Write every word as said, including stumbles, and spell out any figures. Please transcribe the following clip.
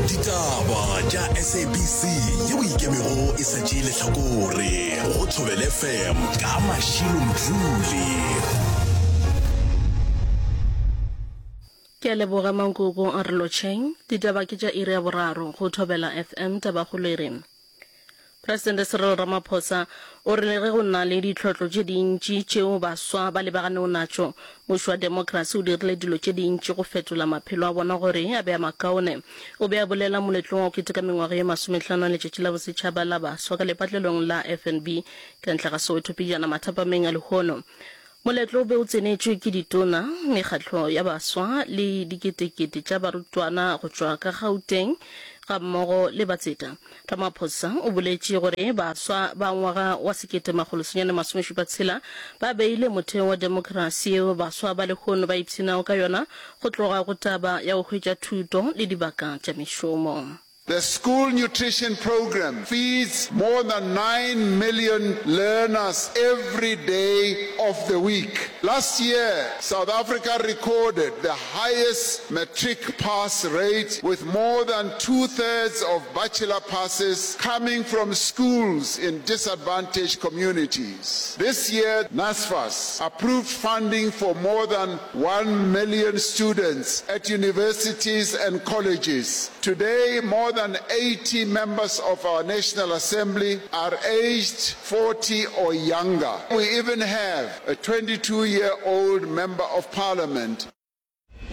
Ditaba tša S A B C yeo ikemego e sa tšee lehlakore go Thobela F M ka Mashilo Mdluli. Ke a leboga Mankoko a re lotšheng. Ditaba ke tša iri ya boraro go Thobela F M. Tabakgolo e re Presidente Cyril Ramaphosa o re le ge go na le ditlhotlo tše dintši tšeo baswa ba lebaganego natšo, mmušo wa demokrasi o dirile dilo tše dintši go fetola maphelo a bona gore a be a makaone. O be a bolela moletlong wa go keteka mengwaga ye masomehlano ya Letšatši la Bosetšhaba la Baswa ka lepatlelong la F N B ka ntle ga Soweto pejana mathapameng a lehono. Moletlo o be o tsenetšwe ke ditona, mekgatlo ya baswa le diketekete tša barutwana go tšwa ka Gauteng gammogo le batseta. Ramaphosa o boletše gore baswa ba ngwaga wa sekete makgolo senyane masome šupa tshela ba beile motheo wa demokrasi yeo baswa ba lehono ba ipshinago ka yona go tloga go taba ya go hwetša thuto le dibaka tša mešomo. The school nutrition program feeds more than nine million learners every day of the week. Last year, South Africa recorded the highest matric pass rate, with more than two-thirds of bachelor passes coming from schools in disadvantaged communities. This year, NSFAS approved funding for more than one million students at universities and colleges. Today, more than eighty members of our National Assembly are aged forty or younger. We even have a twenty-two-year-old member of parliament.